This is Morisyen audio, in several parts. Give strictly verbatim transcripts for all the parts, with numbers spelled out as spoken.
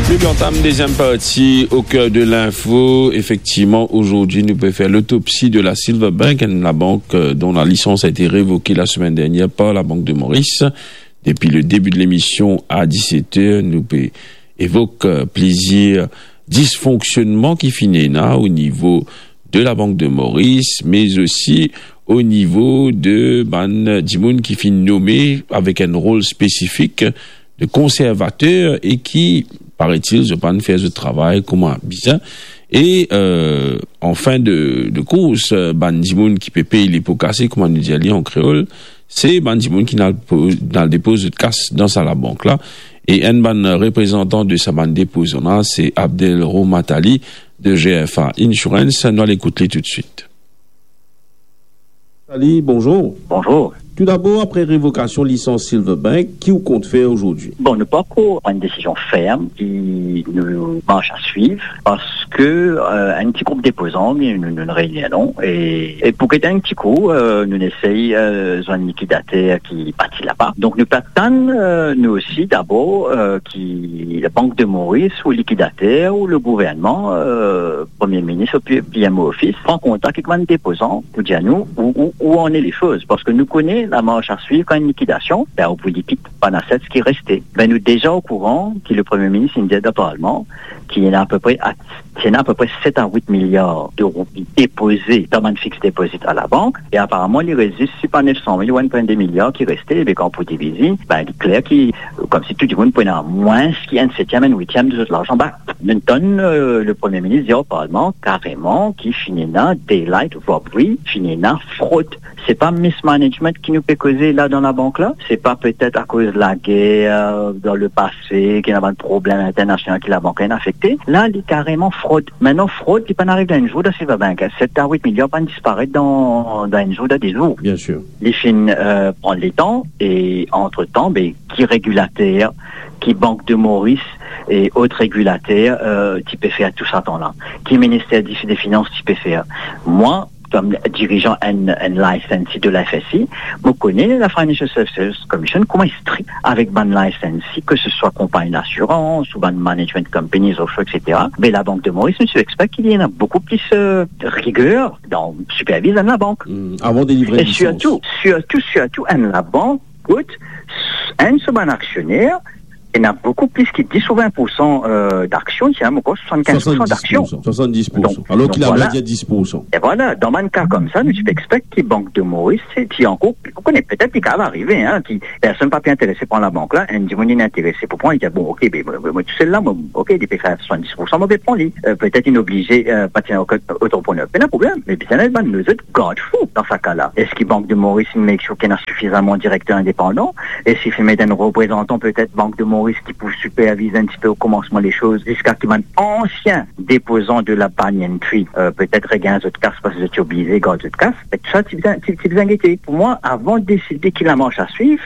Nou antam deziem parti O Cœur de l'Info. Effectivement, aujourd'hui, nous pouvons faire l'autopsie de la Silverbank, une la banque euh, dont la licence a été révoquée la semaine dernière par la Banque de Maurice. Depuis le début de l'émission à dix-sept heures, nous pouvons évoquer euh, plusieurs dysfonctionnements qui finissent là au niveau de la Banque de Maurice, mais aussi au niveau de bann dimoun ki finn nome avek enn rol spesifik de konservater e ki, paraît-il, zot pa'nn fer zot travay kouma bizin. E euh, an fin de, de kours, euh, bann dimoun ki pe pey lepo kase, kouma nou dir li an kreol, se bann dimoun ki nal po-, nal depoz zot kas dan sa labank la. E enn bann reprezantan de sa bann depozan la, se Abdel Romatali de G F A Insurance. Nou al ekout li toutswit. Ali, bonjour. Bonjour. Tout d'abord, après révocation licence Silverbank, ki ou kont fer aujourd'hui? Bon, nou pankor pran enn desizion ferm ki nou mars a swiv, parski euh, enn ti group depozan, nou, nou, nou reini, non? E, e pou get enn ti kou, euh, nou esey euh, zwenn likidater ki pati laba. Donk nou pe atann, euh, nou osi, dabor euh, ki la Banque de Maurice ou likidater ou le gouvernman, euh, Premie Minis ou P M O Office, pran kontak ek bann depozan pou dir nou ou, ou, ou ane le soz. Parski nou kone lamars a swiv kan enn likidasion, ben, ou pou likid bann assets ki reste. Ben, nou deza okouran ki le Premie Minis inn dir dan Parlman ki ena apepre, a- ki ena apepre set a wit miliar de roupi depoze dan bann fixed deposit a labank, e aparaman li res zis, si pa nef san mil ou enn pwin de miliar ki reste, be kan pou divize, ben, li kler ki, komsi tou dimoun pou ena mwins ki enn setiem, enn witiem de zot larzan. Ben, nou tann euh, le Premie Minis dir o Parlman kareman ki finn ena daylight robbery, finn ena frod. Se pa mismanagement ki nou pe koze la dan labank la, se pa petet akoz lager euh, dan lepase ki ena bann problem internasional ki labank la inn afekte. La, li kareman frod. Mintnan, frod, li pa'nn ariv dan enn zour dan Silverbank. Set a wit miliar pa'nn disparet dan, dan enn zour, dan de zour. Bien sûr. Li finn euh, pran letan e, antretan, be, ki regilater, ki Banque de Maurice e lot regilater euh, ti pe fer tou sa tan la? Ki Minister di, de Finans ti pe fer? Mwa, kom dirizan enn, enn licensee de la F S I, mo kone la Financial Services Commission kouma li strik avek bann licensee, ke se swa konpagni lasirans ou bann management companies, offshore, et cetera. Me la Banque de Maurice, nou ti expect ki ena boukou plis euh, riger dan siperviz enn labank. Hmm, avant de livrer une licence. E sirtou, sirtou, sirtou enn labank kot enn so bann aksioner ena boukou plis ki dis ou vin poursan euh, d'aksion, ti ena ankor swasann-kinz poursan d'aksion. Swasann-dis poursan. Swasann-dis poursan. Donk, alor ki donk, la, voilà, dir dis poursan. E voilà, dan bann ka koumsa, nou ti pe expect ki Banque de Maurice, se ti ankor, ou kone, petet li kapav arive, hein, ki personn pa pe interese pran labank la, enn dimoun inn interese pou pran, li dir, bon, ok, be, mwa, mwa, mwa tousel la, mwa, ok, li pe fer swasann-dis poursan, mo pe pran li. Euh, petet inn oblize euh, pa ti ena okenn antreprenner. Pena problem, me bizin ena bann lezot garde-fou dan sa ka la. Eski Banque de Maurice inn make sure ki ena sifizaman direkter indepandan? Eski finn met enn reprezantan petet Banque de Maurice ki pou siperviz enn tipe o koumansman le soz, ziska ki bann ansien depozan de la Banyan Tree euh, petet regagn zot kas parski zot ti oblize gard zot kas? E tou sa ti bizin, ti, ti bizin gete. Pou mwa, avan deside ki lamars a swiv,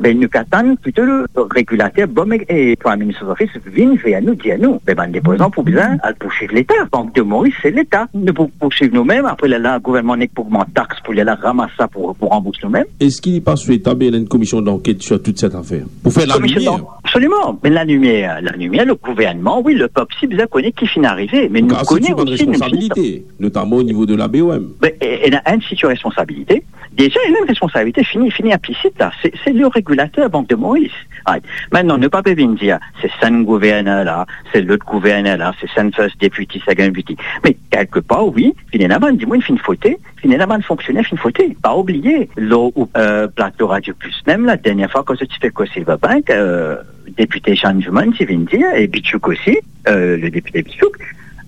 be, nou pe atann plito le regilater, BOM e, e Prime Minister's Office vinn ver nou, dir nou, be, bann depozan pou bizin al poursuiv Leta. Banque de Maurice, se Leta. Nou pou poursuiv noumem, apre lerla gouvernman nek pou ogmant tax pou lerla ramas sa pou, pou ranbours noumem. Eski li pa swetab ena enn komision d'anket sur toute cette affaire? Pou fer lalimier. Komision d'an-, absoliman. Me lalimier, lalimier, le gouvernman, wi, lepep si bizin kone ki finn arive, me nou kone osi, nou finn responsabilite, notamment au niveau de la B O M. Be, e, ena enn sitou responsabilite. Deza, ena enn responsabilite fini, fini inplisit la. Se, se le regilater, Banque de Maurice. Right. Mintnan, nou pa pe vinn dir, se sa enn gouverner la, se lot gouverner la, se sa enn first deputy, second deputy. Me kelkepar, wi, finn ena bann dimoun finn fote, finn ena bann fonksioner finn fote. Pa obliye, lor ou, euh, plato Radio Plus mem, la dernie fwa kan zot ti pe koz Silverbank, euh, depite Jeanne Juman ti vinn dir, e Bichouk osi, euh, le depite Bichouk,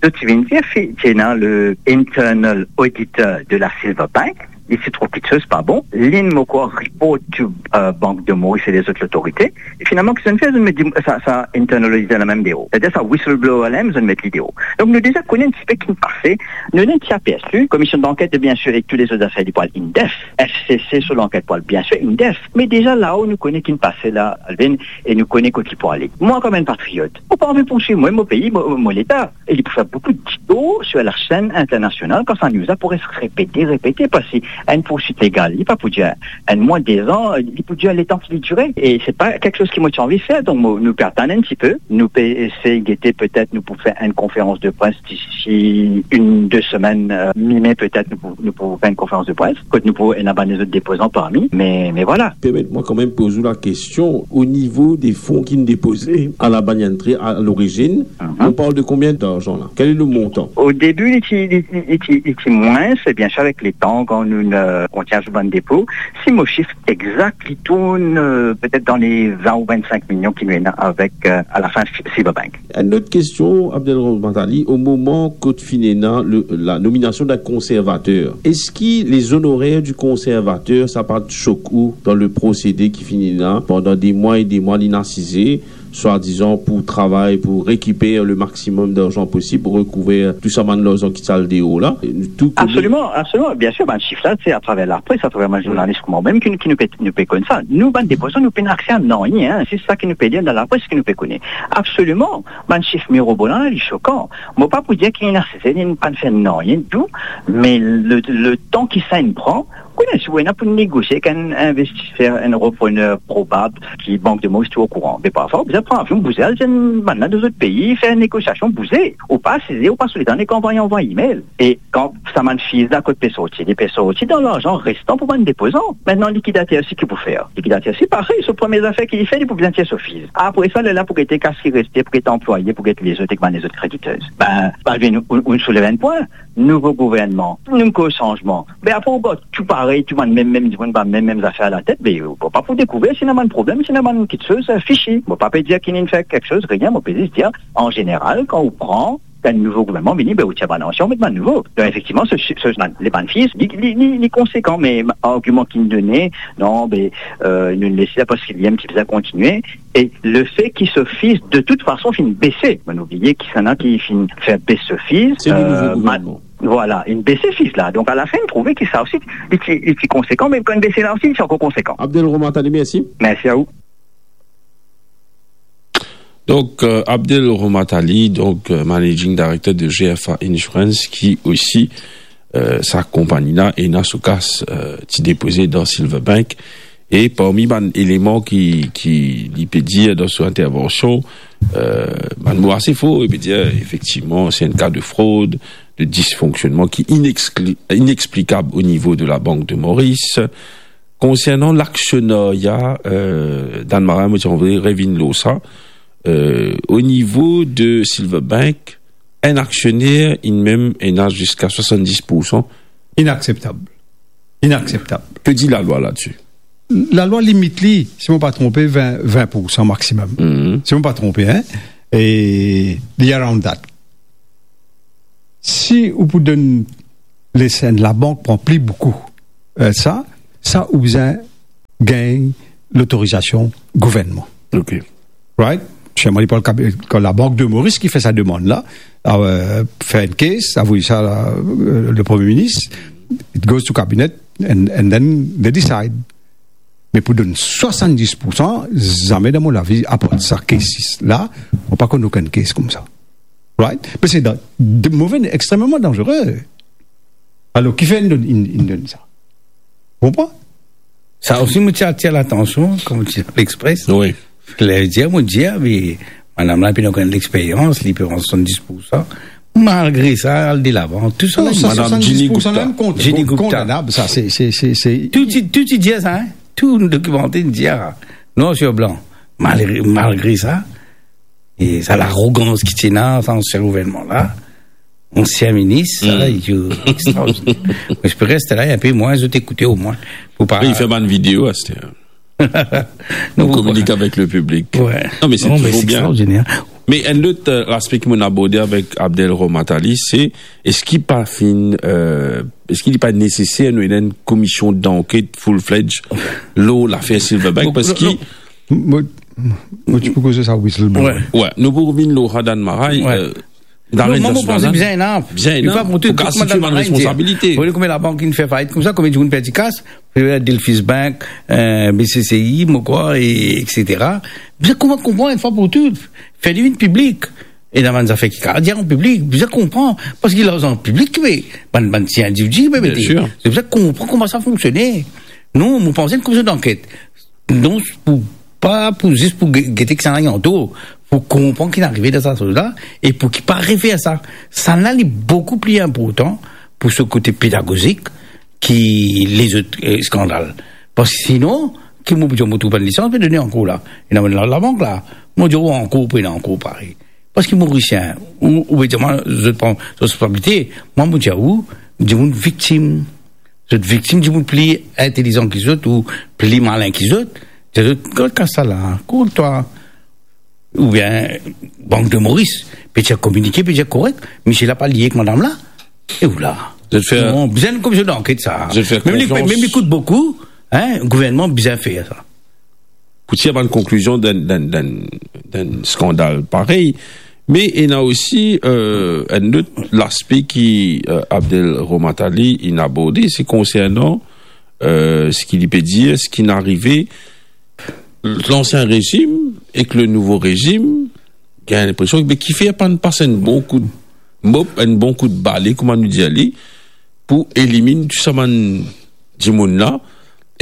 zot ti vinn dir, fi-, ti ena le internal auditor de la Silverbank, li ti trouv kiksoz pa bon, linn mo krwar report to euh, Banque de Maurice e lezot lotorite. E finalman, ki zot inn fer, zot inn met sa, sa internal auditor la mem deor. Sedir sa whistleblower la mem, zot inn met li deor. Donk nou deza kone enn tipe ki pase. Nou ena ti apersi, komision d'anket, bien sir, ek tou lezot zafer, li pou al indef. F C C so lanket pou al, bien sir, indef. Me deza lao nou kone ki pase la, Alvin, e nou kone kot li pou ale. Mwa, kom enn patriot, mo pa anvi poursuiv mwa, mo pei, mo, mo Leta. E li pou fer boukou detour sur la scène internationale kan sa news la pou res repete, repete, parski Enn poursuit legal, li pa pou dir enn mwa, de zan, li pou dir letan ki li dire. E se pa kiksoz ki mo ti anvi fer. Donk, mo, nou pe atann enn tipe, nou pe esey gete, petet nou pou fer enn konferans de pres disi enn, de semenn, eh, mi-me petet, nou pou, nou pou fer enn konferans de pres, kot nou pou ena bann lezot depozan parmi, me, me vwala. Permet mwa kanmem poz ou lakestion, o nivo de fon ki'nn depoze a la bann antre a lorizinn, Mhm. on parl de konbien larzan la? Kel le montan? O debi, li ti, li, li, li ti, li ti mwins, e biensir, avek letan, kan nou, eh, kontign ar bann depo, si mo sif egzak, li tourn, eh, petet dan le vin ou vinn-sink milion ki nou ena avek, eh, a la fin Silverbank. Enn lot kestion, Abdel Rahman Ali, o moman kot finn ena le, la nominasion d'enn konservater, eski les honoraires du conservateur, sa pa sok ou dan le prosede ki finn ena pandan de mwa e de mwa, li'nn asize, swadizan pou travay, pou rekiper le maximum d'argent possible, pou rekouver tou sa bann larzan ki ti al deor la. E nou tou kone Absoliman, absoliman. Biensir, bann sif la, se atraver lapres, atraver bann zournalis kouma mem ki, ki nou pe, nou pe konn sa. Nou, bann depozan, nou pena akse a nanye, hein. Se sa ki nou pe lir dan lapres, ki nou pe kone. Absoliman, bann sif mirobolan la, li sokan. Mo pa pou dir ki li'nn asize, li'nn pa'nn fer nanye ditou, me le, letan ki sa inn pran, kone, si ou ena pou negosie ek enn investiser, enn reprener probab ki Bank de Moris ti okouran. Me parfwa, ou bizin pran avion, bouze, al zwenn bann la dan zot pei, fer negosiasion, bouze. Ou pa asize, ou pa sou letan, nek anvway, anvway email. E kan sa bann fees la kot pe sorti, li pe sorti dan larzan restan pou bann depozan. Aster, likidater osi, ki pou fer? Likidater osi, parey, so premie zafer ki li fer, li pou bizin tir so fees. Apre sa, lerla pou gete kas ki reste, pou get anplwaye, pou get lezot ek bann lezot krediteur. Be, pa vinn, ou, ou souleve enn pwin. Nouvo gouvernman, nouvo sanzman. Be apre ou gard tou parey, tou bann mem, mem dimoun, bann mem, mem zafer latet, be ou pa pou dekouver si ena bann problem, si ena bann kiksoz, eh, fishy. Mo pa pe dir ki li'nn fer kiksoz, rien, mo pe zis dir, an zeneral, kan ou pran enn nouvo gouvernman vini, be ou tir bann ansien, ou met bann nouvo. Donk, efektivman, se, se, se, le bann fees, li, li, li, li konsekan, me argiman ki'nn done, non, be, eh, nou'nn les la parski li'nn ti bizin kontigne. E le fe ki so fees, de tout fason, finn bese. Mo'nn oubliye ki sa ena ki finn fer bes so fees. Se le nouvo, eh, gouvernman. Vwala, inn bese fees la. Donk, a la fin, inn trouve ki sa osi, li ti, li ti konsekan, me kan inn bese la osi, li ti ankor konsekan. Abdel Rahman Ali, mersi. Mersi a ou. Donk, eh, Abdel Rahman Ali, donk, eh, managing director de G F A Insurance, ki osi, eh, sa konpagni la, ena so kas, eh, ti depoze dan Silverbank. E parmi bann eleman ki, ki li pe dir dan so intervansion, eh, bann mo ase for, li pe dir, efektivman, se enn ka de frod, de disfonksionnman ki inexpli-, inexplikab o nivo de la Bank de Moris. Konsernan laksionarya, eh, Dan Marais, mo ti anvi revinn lor sa, eh, o nivo de Silverbank, enn aksioner, li mem, ena ziska swasanndis poursan. Inakseptab. Inakseptab. Ki dir lalwa ladsi? Lalwa limit li, si mo pa tronpe, vin, vin poursan maximum. Mhm. Si mo pa tronpe, hein? E li around that. Si ou pou donn les, labank pran pli boukou, eh, sa, sa ou bizin gagn lotorizasion gouvernman. Ok. Right? Selman li pa le kabi-, kan la Bank de Maurice ki fer sa demann la, eh, fer enn case, avoy sa, eh, le Premie Minis, it goes to cabinet, and, and then they decide. Me pou donn swasanndis poursan, zame dan mo lavi, apar sa case la, mo pa konn okenn case koumsa. Right? Parski se dan-, de, move, extrememan danzere. Alor, kifer inn donn, inn, inn donn sa? Konpran? Sa osi, mo ti atir latansion, kouma ti Lexpress. Wi. Ler dir, mo dir, me madam la, li pena okenn lexperyans, li pe pran swasanndis poursan. Malgre sa, al de lavan, tou sa. Non, la, sa, madam swasanndis poursan Jenny Gupta. Jenny Gupta. Kondanab, sa, se, se, se, se... Tou ti, tou ti dir sa, hein? Tou dokimanté dir, noir sur blanc. Malgre, malgre sa, e sa larogans ki ti ena, sa ansien gouvernman la, ansien minis, sa, mm, extraordiner. Mo espere, se la, enpe mwin, zot ekoute omwin. Pou pa... Li fer bann video, aster. Non, pou kominike avek le piblik. Wi. Non, me se touzour bien. Extraordiner. Me enn lot, eh, laspe ki mo'nn aborde avek Abdel Rahman Ali, se, eski pa finn, eh, eski li pa neseser nou ena enn komision danket full-fledged lor lafer Silverbank, parski... Non, non. Mo, mo ti pou koz sa whistleblower. Wi. Wi, nou pou revinn lor sa Dan Marais, wi, eh, non, mwa, mo panse bizin ena. Bizin ena. Fok asime bann responsabilite. Ou konpran kouma labank inn fer fayit koumsa, konbien dimoun perdi kas, Delphis Bank, eh, B C C I, mo krwar, e, et cetera. Bizin konpran enn fwa pou tou, fer li vinn piblik. Ena bann zafer ki kapav dir an piblik, bizin konpran, parski larzan piblik ki pe, bann, bann ti individi ki pe mete. Bien sir. Zot bizin konpran kouma sa fonksione. Non, mo panse enn komision danket, non, pou, pa pou zis pou ge-, gete kisannla inn arive, pou konpran ki inn arive dan sa soz la, e pou ki pa refer sa. Sannla li boukou pli inportan pou so kote pedagozik ki lezot, eh, skandal. Parski sinon, ki mo pou dir, mo trouv bann lisans, pe done ankor la. Ena bann la, labank la. Mo dir, ou ankor, pena ankor parey. Parski Morisien, ou, ou pe dir mwa, zot pran zot responsabilite. Mwa, mo dir ou, dimoun viktim. Zot viktim, dimoun pli intelizan ki zot ou pli malin ki zot. Dir zot, kot kas sa la, kot twa. Oubien Bank de Moris, pe dir kominike, pe dir korek, misie la pa lie ek madam la. E ou la. Zot fer Non, bizin komision danket sa. Zot fer Mem li, konfians. Mem li kout boukou, hein, gouvernman bizin fer sa. Pou tir bann konklizion dan, dan, dan, dan skandal parey. Me ena osi, euh, enn lot laspe ki, euh, Abdel Romatali inn aborde, se konsernan, euh, seki li pe dir, seki inn arive lansien rezim ek le nouvo rezim, gagn linpresion, be, kifer pa pas enn bon kout mop, enn bon kout bale, kouma nou dir li, pou eliminn tou sa bann dimoun la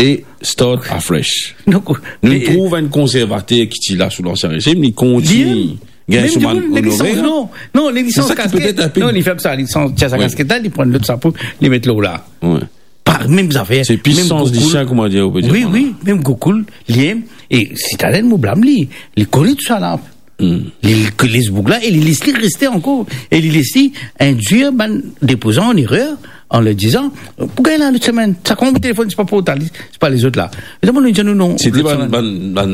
e start afresh. Donk, nou e, trouv enn konservater ki ti la sou lansien rezim, li kontign gagn so bann onorer. Non, non, li lisans kasket. Non, li fer sa, li lisans, tir sa kasket la, li pran lot sapo, li met lor la. Wi. Par mem zafer, se pisans disien, kouma dir, ou pe dir, wi, mem Gokul, li, e Citadin, mo blam li, li kone tou sa la. Li, li les boug la, e li les li reste ankor, e li les li induir bann depozan an erer, an leur dizan, pou gagn la lot semenn. Sa kouma mo telefonn, se pa pou tali, se pa lezot la. Me dan mo, nou dir nou non. Se te bann, bann, bann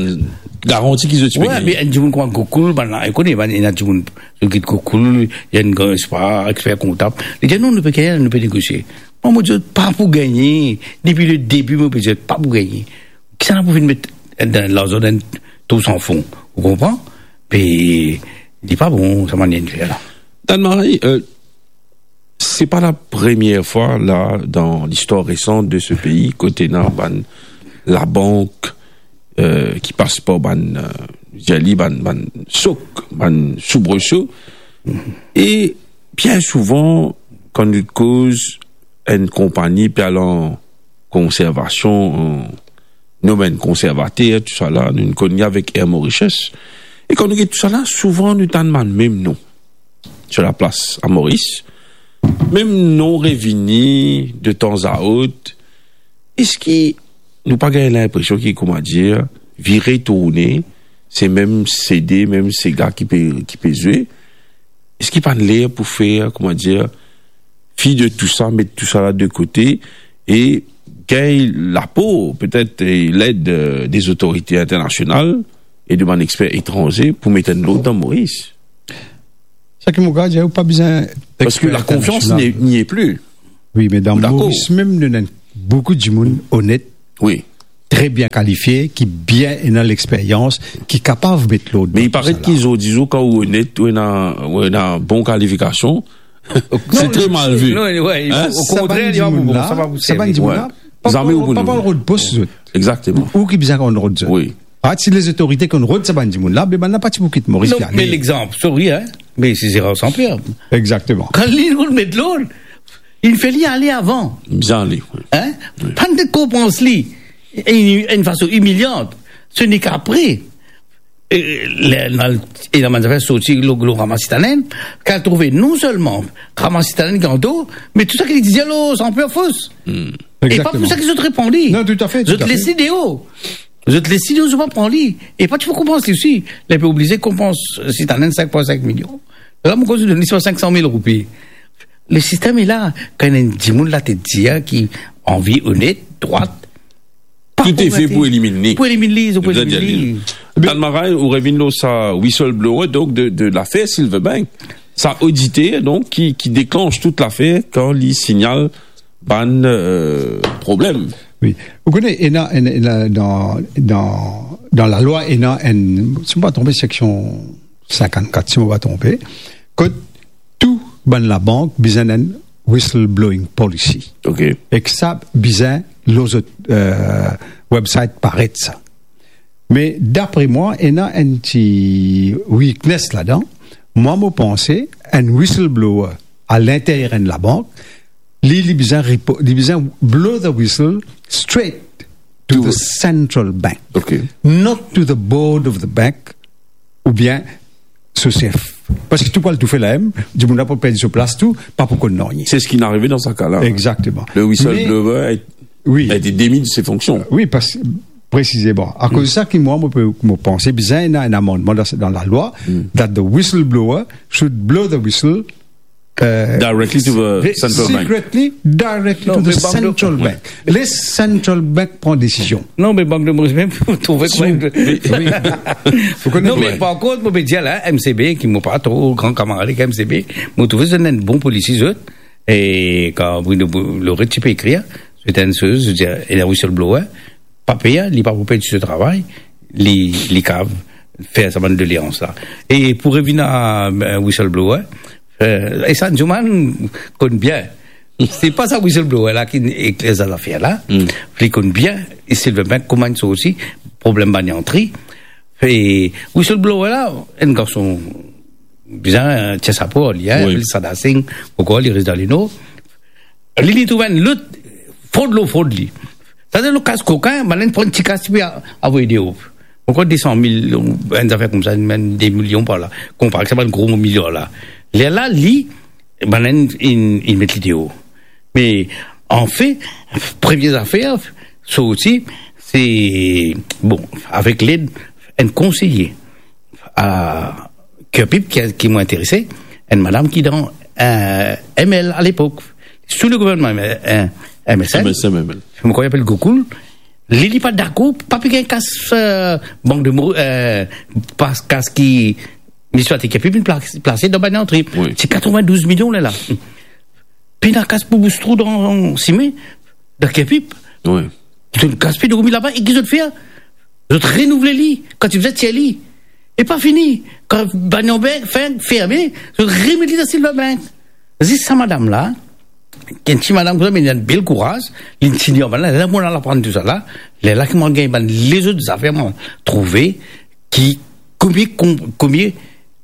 garanti ki zot ti pe gagne. Wi, me enn dimoun kouma Gokul, bann la, ou kone, bann, ena dimoun, zot get Gokul, ena enn gran, se pa, exper kontab. Li dir, "Non, nou pe gagne, nou pe negosie." Mwa, mo dir, pa pou gagne. Depi le debi, mo pe dir, pa pou gagne. Kisannla pou vinn met dan larzan dan enn trou san fon. Ou konpran? Pe, li pa bon, sa manier fer la. Dan Marie, euh, se pa la premie fwa la dan listwar resan de se pei kot ena bann labank, euh, ki pas par bann, euh, dir li bann, bann sok, bann soubreso. E bien souvan, kan nou koz enn konpagni pe al an konservasion, an, nou menm konservater, tou sa la, nou konn li avek Air Mauritius. E kan nou get tou sa la, souvan nou tann bann mem non. Sur la plas a Moris, mem non revini de tan a ot. Eski nou pa gagn linpresion ki, kouma dir, vire tourne, se mem sede, mem sega ki pe, ki pe zwe? Eski pa ler pou fer, kouma dir, fi de tou sa, met tou sa la de kote e gagn lapor, petet, e led, euh, de zotorite internasional e de bann exper etranze pou met enn lord dan Moris? Sa ki mo kapav dir, ou pa bizin... Parski la konfians ne, n'y est plus. Wi, me dan Moris mem, nou ena boukou dimoun onet, wi, tre bien kalifie, ki bien ena lexperyans, ki kapav met lord dan tou sa la. Me i paret ki zordi zour, kan ou onet, ou ena, ou ena bon kalifikasion, se tre mal vi. Non, wi, o kontrer, li pa pou bon, sa pa pou servi. Sa bann dimoun la, pa pou rod pos zot. Exakteman. Ou ki bizin konn rod zot. Wi. Ah, si lezotorite konn rod sa bann dimoun la, be bann la pa ti pou kit Moris, non, pe ale. Me lexanp, sorry, hein, me se Gérard Saint-Pierre. Exakteman. Kan li, nou met lord, li fer li ale avan. Bizin ale, wi. Hein? Wi. Pa'nn konpans li, e, enn fason imilian. Se nek apre, e, le, le, e lamann zafer sorti lor, lor Ramasitanenn, ki al trouve non selman Ramasitanenn ki an tor, me tou sa ki li ti dir lor Saint-Pierre fos. Hmm. E pa pou sa ki zot repran li. Non, toutafe, toutafe. Zot les li deor. Zot les li deor, zot pa pran li. E pa ti pou konpans li osi. Li pe oblize konpans Citadin sink pwin sink milion. La, mo koz donn li swa sink san mil roupi. Lesistem la, kan enn dimoun la ti dir ki anvi, onet, drwat, pa pou... Tou e fe pou eliminn li. Pou eliminn li, pou eliminn li. Tann Marie, ou revinn lor sa whistleblower, donk de, de lafer Silverbank. Sa oditer, donk, ki, ki deklanch tou lafer kan li signal bann, euh, problem. Wi. Ou kone, ena, ena, ena dan, dan, dan lalwa, ena enn, si mo pa tronpe, seksion sinkannkat, si mo pa tronpe, kot tou bann labank bizin enn whistleblowing policy. Ok. Ek sa bizin lor zot, euh, website paret sa. Me dapre mwa, ena enn ti weakness ladan. Mwa, mo panse, enn whistleblower alinteryer enn labank, li, li bizin repo-, li bizin blow the whistle straight to the central bank, not to the board of the bank, oubien so sef. Parski tou pou al toufe la mem, dimoun la pou perdi so plas tou, pa pou konn nanye. C'est ce qui est arrivé dans ce cas-là. Exactement. Le whistleblower a été démis de ses fonctions. Wi, parski, presizeman. Akoz sa ki mwa, mo pe, mo panse bizin ena enn amannman dan, dan lalwa, that the whistleblower should blow the whistle, euh, directly to the central bank. Secretly, directly to the central bank. Les central bank pran desizion. Non, me Bank de Moris mem, mo trouve... Non, me par kont, mo pe dir la, M C B, ki mo pa tro gran kamarad ek M C B, mo trouve se enn bon polisi, zot. E kan Bruno Bou-, Loret ti pe ekrir, se enn soz, se dir, e la whistleblower, pa per, li pa pou perdi so travay, li, li kav fer sa bann doleans la. E pou revinn a, euh, whistleblower, euh, e sa, Newman konn bien. Se pa sa whistleblower la ki ekler sa zafer la. Li konn bien, e Sylvain Bank kouma inn sorti, problem bann antri. E whistleblower la, enn garson bizin, euh, tir sapo, li, hein, li apel Sada Singh, ankor li res dan Lenor. Li, li trouv enn lot frod lor frod li. Sa, dan le kas kokin, bann la pran ti kas, ti pe a-, avoy deor. Ankor de san mil, enn zafer koumsa, mem de milion par la. Konpare ek sa bann gro miliar la. Lerla, li, bann la inn, inn, inn met li deor. Me, anfet, premie zafer sorti, se, bon, avek led enn konseye a Kirpip ki, ki mo interese, enn madam ki dan, euh, M L a lepok, sou le gouvernman, euh, M S N. M S N, M L. Mo krwar li apel Gokul. Li, li pa dakor, pa pe gagn kas, euh, Bank de Mo-, euh, pa kas ki Minisiter Kirpip inn pla-, plase dan bann antri. Wi. Se katrevin-douz milion la la. Pena kas pou bous trou dan sime, dan Kirpip. Wi. Zot kas pe dormi laba, e ki zot fer? Zot renouvle li, kan ti bizin tir li. E pa fini, kan bann la fin ferme, zot remet li dan Sylvain Bank. Zis sa madam la, ki enn ti madam koumsa, me li ena bel kouraz, li ti dir, "Bann la, lerla mo al aprann tou sa la, lerla ki mo al gagn bann lezot zafer mo trouve ki komie, kom-, komie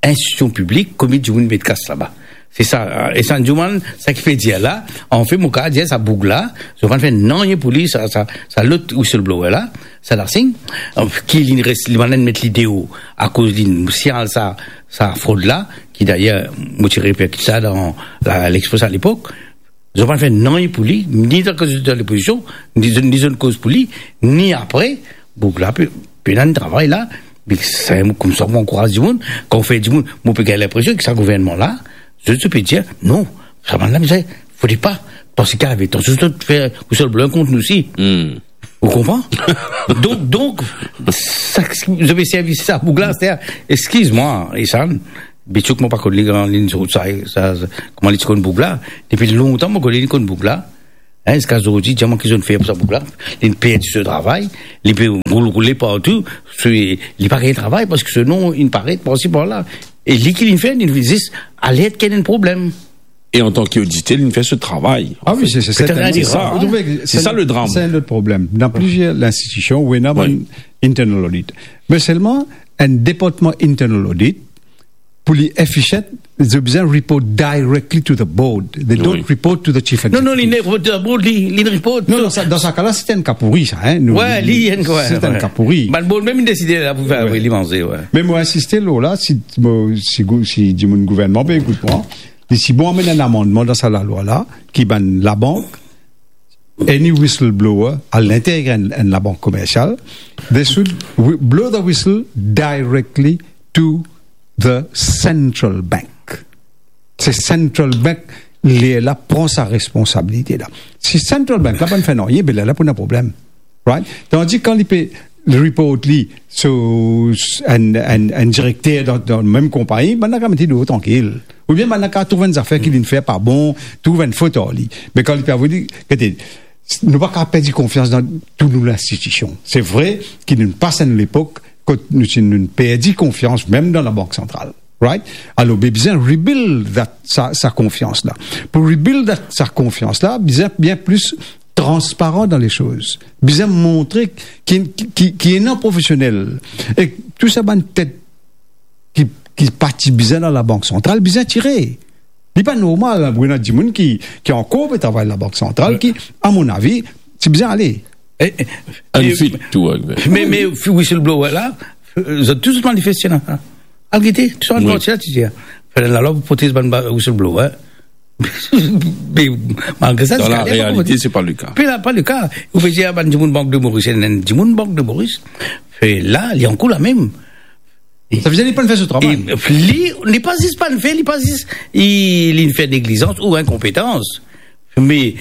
institision piblik, komie dimoun met kas laba." Se sa, e sa dimoun, sa ki pe dir la, anfet, mo kav dir sa boug la, zot pa fer nanye pou li, sa, sa, sa lot whistleblower la, Sada Singh, ki li res, li bann la met li deor, akoz li signal sa, sa frod la, ki dayer, mo ti reperkit sa dan la, L'Express a lepok, zot pa fer nanye pou li, ni dan, kan zot dan lopozision, ni zot, ni zot koz pou li, ni apre, boug la pe, pena enn travay la, me sa, koumsa, mo ankouraz dimoun, kan ou fer dimoun, mo pe gagn linpresion ki sa gouvernman la, zot, zot pe dir, "Non, sa bann la, bizin, fode pa, parski ave tansion zot fer whistleblower kont nou osi." Hmm. Ou konpran? Donk, donk, sa, zot pe servi sa boug la, se, eskiz mwa, Isan, Bitsouk, mo pa konn li, kan li sort sa, sa, sa, kouma li ti konn boug la. Depi lontan, mo konn li, li konn boug la. Hein, ziska zordi, dir mwa ki zot inn fer pou sa boug la. Li inn perdi so travay, li pe roul, roule partou, se, li pa gagn travay, parski so nom inn paret parsi, parla. E li ki li inn fer, li inn zis alert ki ena enn problem. E antan ki oditer, li inn fer so travay. Ah wi, se, se, se sa. Ou trouve ki se sa le dram. Se enn lot problem. Dan plizier linstitision, ou ena bann internal audit. Me selman, enn departman internal audit, pou li efficient, zot bizin report directly to the board. They don't report to the chief executive. Non, non, li inn report to the board, li, li inn report. Non, non, sa, dan sa ka la, se enn ka pouri, sa, hein. Nou, wi, li, li, enn ka, wi, se enn ka pouri. Bann board mem inn deside la pou fer, wi, li manze, wi. Me mo insiste lor la, si, mo, si gou-, si dimoun gouvernman pe ekout mwa, li ti bon amenn enn amannman dan sa lalwa la, ki bann labank, any whistleblower alinteryer enn, enn labank komersial, they should wi-, blow the whistle directly to the central bank. Se central bank, lerla pran sa responsabilite la. Si central bank la pa fer nanye, be lerla pou ena problem. Right? Tandi kan li pe report li, so, enn, enn, enn direkter dan, dan mem konpagni, bann la kav met li deor trankil. Oubien bann la kav trouv enn zafer ki li inn fer pa bon, trouv enn fot ar li. Me kan li pe avoy li, gete, nou pa kav perdi konfians dan tou nou linstitision. Se vre ki nou pas enn lepok kot nou ti, nou perdi konfians mem dan Labank Santral. Right? Alor, be bizin rebuild that, sa, sa konfians la. Pou rebuild that, sa konfians la, bizin bien plis transparan dan le soz. Bizin montre ki, ki, ki, ki ena profesionel. E tou sa bann tet ki ki pa ti bizin dan Labank Santral, bizin tire. Li pa normal, pou ena dimoun ki, ki ankor pe travay Labank Santral, ki, a mon avi, ti bizin ale. E, e, Ann e, fit tou, ek me, me, whistleblower la, zot tou zot manifeste la. Al gete, tou sa bann parti la, ti dir, fer lalwa pou protez bann ba-, whistleblower. Me malgre sa, dan la realite, se pa le ka. Pe la, pa le ka. Ou pe dir, a, bann dimoun Bank de Moris, enn, enn dimoun Bank de Moris, e la, li ankour la mem. Sa vedir li pa'nn fer so travay. E li, li pa zis pa'nn fer, li pa zis, li, li fer neglizans ou inkonpetans. Me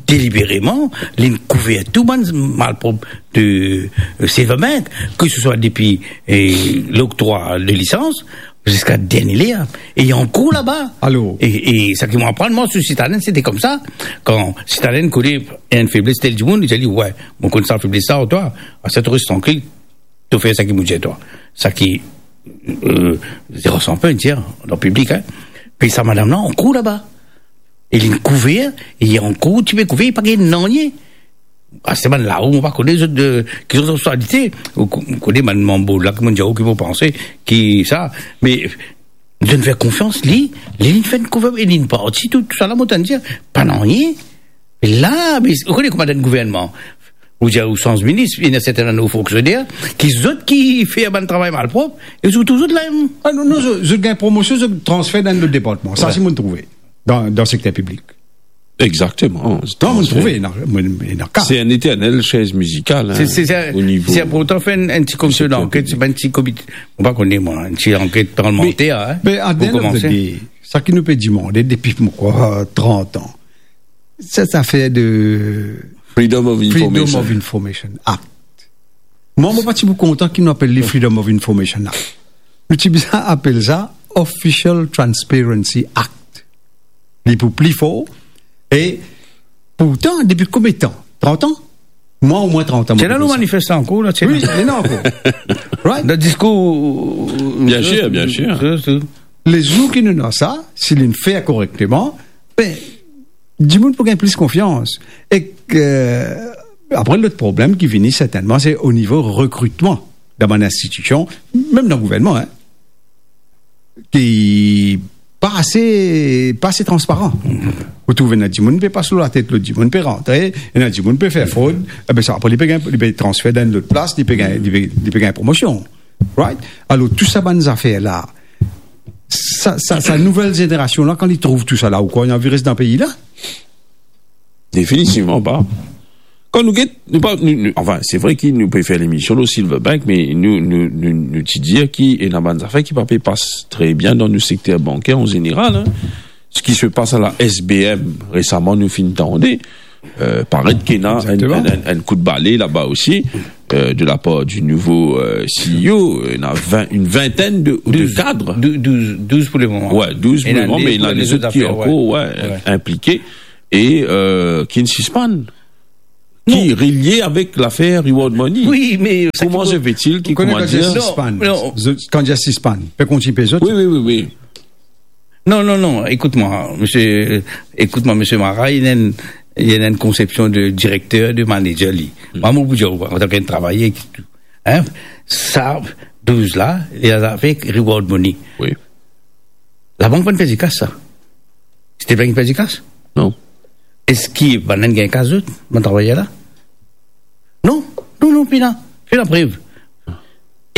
delibereman, li kouver tou bann malprop de, e, Silverbank, ke se swa depi, e, loktrwa de lisans, ziska dernie ler, e li ankour laba. Alor. E, e sa ki mo aprann, mwa, sou Citadin, sete koumsa, kan Citadin kone enn febles tel dimoun, li dir li, "Wi, mo konn sa febles la, twa, aster to res trankil, to fer seki mo dir twa." Seki, e, zero san pe dir, dan piblik, en. Pe sa madam la, ankour laba. E li kouver, e li ankour, ti pe kouver, li pa gagn nanye. Aster bann lao, mo pa kone zot de, ki zot seksualite. Ou ko-, ou kone bann manbo la, ki mo dir, ki mo panse, ki sa. Me, zot fer konfians li, li, li fer kouver, e li parti, tou, tou sa la, mo tann dir, pa nanye. La, me, ou kone kouma dan gouvernman, ou dir ou sanz minis, ena serten bann fonksioner, ki zot ki fer bann travay malprop, e zot touzour la mem. A non, non, zot, zot gagn promosion, zot transfer dan lot departman. Sa, wi, si mo trouve. Dan, dan sekter piblik. Exactement. Non, mo trouve, ena, mo, ena ka. Se enn eternel chaiz mizikal, en, se, se, se, o nivo, se pou fer enn, enn ti komision danket, se pa enn ti komite, mo pa kone, mwa, enn ti anket parlmanter, en, me, at the end of the day, sa ki nou pe dimande depi, mo krwar, trant an, se zafer de Freedom of Freedom Information. Of Information Act. Mwa, mo pa ti pou kontan ki nou apel li Freedom of Information Act. Nou ti bizin apel sa Official Transparency Act. Li pou pli for. E pourtan, depi konbien tan? Trant an? Mwa, omwin trant an, mo pe dir sa. Ti ena nou manifeste ankor la, ti ena. Wi, ena ankor. Right? Dan diskour, bien sir, bien sir. Lezour ki nou ena sa, si li fer korekteman, be, dimoun pou gagn plis konfians. Ek, e, apre, lot problem ki vini, sertennman, se o nivo rekritman dan bann institision, mem dan gouvernman, en, ki pa ase, pa ase transparan. Ou trouve ena dimoun pe pas lor latet lot dimoun, pe rantre, ena dimoun pe fer frod, e be sa, apre, li pe gagn, li pe transfer dan lot plas, li pe gagn, li pe, li pe gagn promosion. Right? Alor, tou sa bann zafer la, sa, sa, sa nouvel zenerasion la, kan li trouv tou sa la, ou krwar li anvi res dan pei la? Definitivman pa. Kan nou get, nou pa, nou, nou, anfin, se vre ki nou pe fer lemision lor Silverbank, me nou, nou, nou, nou ti dir ki ena bann zafer ki pa pe pas tre bien dan nou sekter banker an zeneral, en. Seki se pas a la S B M resaman, nou finn tande, e, paret ki ena enn, enn, enn, enn kout bale laba osi, e, de la par di nouvo, e, C E O, ena vin, enn vintenn de, de kad. Douz, douz, douz pou lemoman. Wi, douz pou lemoman, me ena lezot ki ankor, wi, inplike e, e, ki sispann. Ki relie avek lafer reward money. Wi, me kouma se fetil ki, kouma dir, sispann? Non, non. Zot, kan dir sispann, pe kontign pey zot? Wi, wi, wi, wi. Non, non, non, ekout mwa, misie, ekout mwa, misie Mara, li ena enn, li ena enn konsepsion de direkter, de manager, li. Mwa, mo pou dir ou, antan ki enn travayer, en, sa douz la, li avek reward money. Wi. Labank pa'nn perdi kas sa? State Bank inn perdi kas? Non. Eski bann-la inn gagn kas zot, bann travayer la? Non, non, non, pena, pena prev.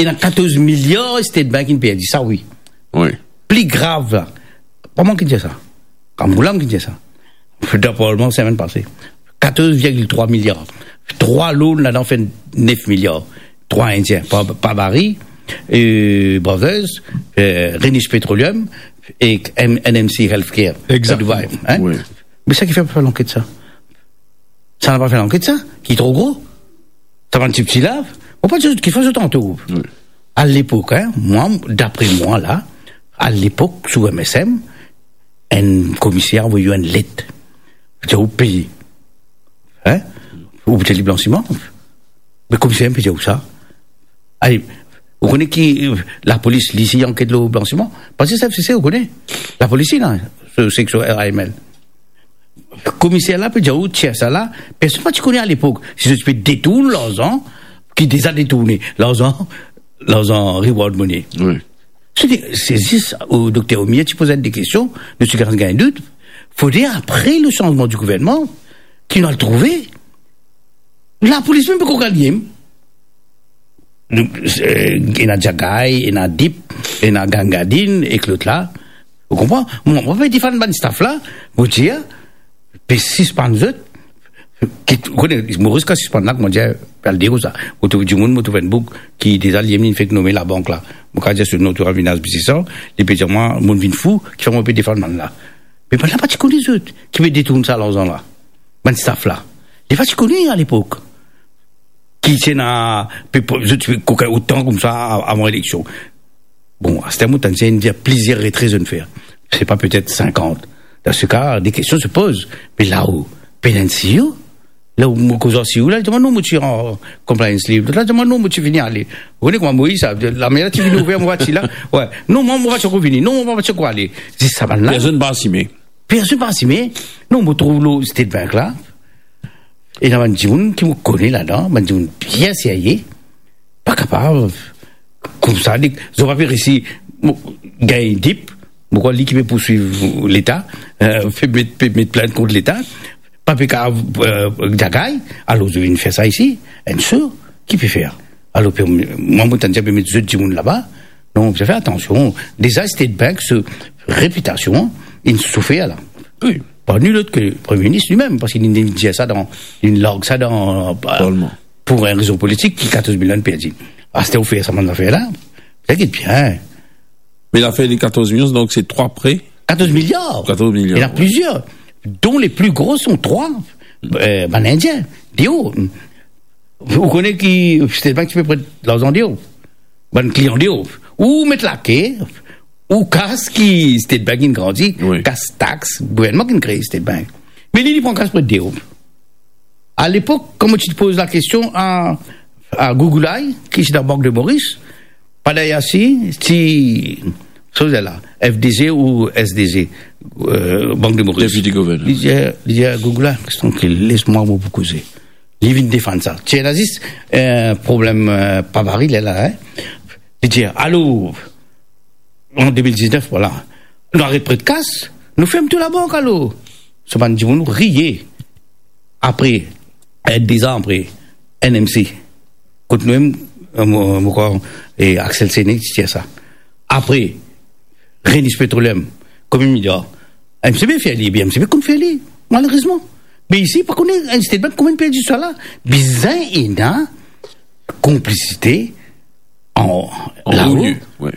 Ena katorz miliar State Bank inn perdi, sa wi. Wi. Pli grav la, pa mwa ki dir sa, Rambourg la ki dir sa, dan parlman semenn pase, katorz virgil trwa miliar. Trwa loan ladan fer nef miliar. Trwa Indien, Pa-, Pabari, e, Brothers, e, Rhenish Petroleum e M-, N M C Healthcare. Exactement. Dubai, en? Wi. Me sa ki fer pa fer lanket sa? Sa inn pa fer lanket sa, ki tro gro. Sa bann tipti la, mo pa dir zot ki fer zot antour. Wi. A lepok, en, mwa, dapre mwa la, a lepok, sou M S M, enn komiser avoy ou enn let, dir ou peye. En? Ou pe dir li blansiman. Me komiser pe dir ou sa. Ale, ou kone ki, e, lapolis, li, si anket lor blansiman? Parski sa, se, se, ou kone, lapolis, la, se, se sou R A M L. Komiser la pe dir ou, tir sa la, personn pa ti kone a lepok si zot ti pe detourn larzan ki deza detourne, larzan, larzan reward money. Wi. Se, se zis, o, Dokter Omier ti poz de kestion, nou ti gagn, gagn dout. Fode apre le sanzman di gouvernman, ki nou al trouve, lapolis mem poko al li. Nou, eh, ena Diagay, ena Dip, ena Gangadin, ek lot la. Ou konpran? Mwa, mo pe defann bann staff la, mo dir, pe sispann zot, ki, ou kone, Moris kan sispann la, kouma dir, al dir koumsa, mo trouv dimoun, mo trouv enn boug ki deza li mem fek nome labank la. Mo kav dir so nom, tou vinn abize sa, li pe dir mwa, mo vinn fou, kifer mo pe defann bann la. Me bann la pa ti kone zot, ki pe detourn sa larzan la. Bann staff la. Li pa ti kone alepok. Ki ti ena, pe, pe, zot ti pe kokin otan koumsa a-, avan eleksion. Bon, aster mo tann dir ena plizier retre zot inn fer. Se pa petet sinkant. Dan se ka, de kestion se poz. Me la ou, pena enn CEO. La ou mo koz ar CEO la, li dir mwa, "Non, mo ti an compliance leave." Lot la dir mwa, "Non, mo ti fini ale." Ou kone kouma Moiz sa, lame la ti fini ouver mo vwatir la. Wi. "Non, mwa, mo vwatir ankor vini. Non, mo vwatir ankor ale." Zis sa bann la. Personn pa asime. Personn pa asime. Non, mo trouv lor State Bank la. Ena bann dimoun ki mo kone ladan, bann dimoun bien serye, pa kapav koumsa, li, zot pa pe resi, mo, gagn Dip, mo krwar li ki pe pourswiv Leta, eh, pe met, pe met plint kont Leta, pa pe kapav, eh, Diagay, alor zot vinn fer sa isi, enn so, ki pe fer? Alor, pe, mwa, mo tann dir pe met zot dimoun laba, non, zot fer atansion. Deza, State Bank, so repitasion, inn soufer la. Wi. Pa ni lot ke Premie Minis limem, parski li, li dir sa dan, li larg sa dan, Parlman. Pou enn rezon politik, ki katorz milion perdi. Aster ou fer sa bann zafer la, sa get bien. Me lafer de katorz milion, donk se trwa pre? Katorz miliar. Katorz miliar, wi. Ena plizier, dont le pli gro son trwa, eh, bann Indien, deor. Ou kone ki State Bank ti pe pran larzan deor? Bann klian deor. Ou met lake, ou kas ki State Bank inn grandi, wi, kas tax, gouvernman ki inn kree State Bank. Me li, li pran kas pran deor. Alepok, kan mo ti poz lakestion a, a Gougoulay, ki ti dan Bank de Moris, Padayasi, ti, so la, F D G ou S D G, eh, Bank de Moris. Deputy Governor. Li dir, li dir, "Gougoulay, res trankil, les mwa, mo pou koze." Li vinn defann sa. Ti ena zis, eh, problem, eh, pa Paris, lerla, hein. Li dir, "Alor, an de mil diznef, vwala, nou aret pret kas, nou ferm tou labank alor." So bann dimoun riye. Apre, eh, dezan apre, N M C. Kot nou mem, eh, mo, mo krwar, eh, Axel Séné ti dir sa. Apre, Rhenus Petroleum, konbien miliar? M C B fer li, ebien M C B konn fer li, malerezman. Me isi, pa kone, enn State Bank konbien perdi sa la. Bizin ena konplisite an, an lao. Wi.